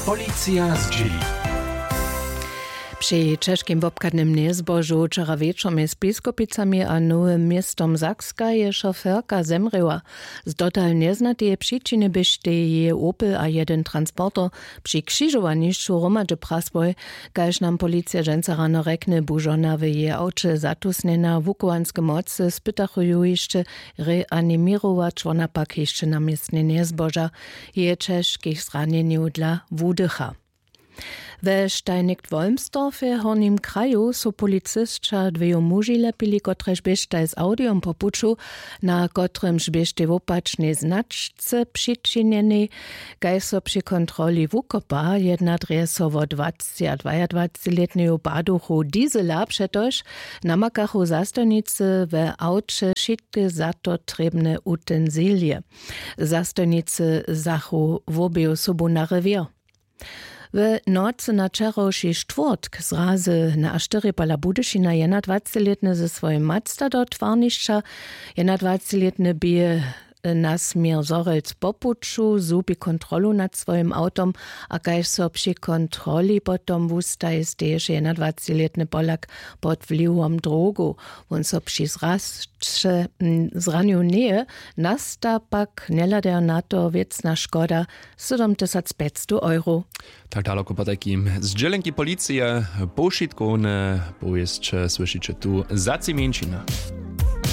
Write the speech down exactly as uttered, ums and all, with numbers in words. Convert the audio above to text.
Policija zdźěli. Při ćežkim wobchadnym njezbožu wčera wječor mjez Biskupicami a Nowym Městom Sakska je šoferka zemrěła. Z dotal njeznateje přičiny běštej jeje Opel a jedyn transporter při křižowanišću hromadźe prasłoj. Kaž nam policija dźensa rano rjekny, bu žona w jeje awće zatusnjena. Wuchowanske mocy spytachu ju hišće reaniměrować, wona pak hišće na městnje njezboža. Jeje ćežkich zranjenjow dla wudycha. We Steinigk-Wolmstorfje w Hornim kraju su policisća dweju muži lepili, kotrež běštaj z awdijom po puću, na kotrymž běštej wopačnej značce přičinjenej. Kaž so při kontroli wukopa, jedna drje so wo dwacci a dwajadwacci lětneju baduchu Diesela, přetož namakachu zastojnicy we awće wšitke za to trěbne utensilije. Zastojnicy zachu wobeju sobu na rewěr. W nocy na wčerawši štwórtk zrazy na štyri pola Budyšina jednadwacetlětny ze swojim Mazda do twarnišća. Jednadwacetlětny bě na směr Zhorjelc po puću, zhubi kontrolu nad swojim awtom, a kaž so při kontroli potom wustaji, steješe jednadwacetlětny Polak pod wliwom drogow. Wón so při zrasće, mm, zranił njeje, nasta pak, njehladajo na to, wěcna škoda, sydomtysacpjećstow euro. Tak daloko potajkim zdźělenki policije. Powšitkowne powěsće słyšiće tu za tři mjeńšiny.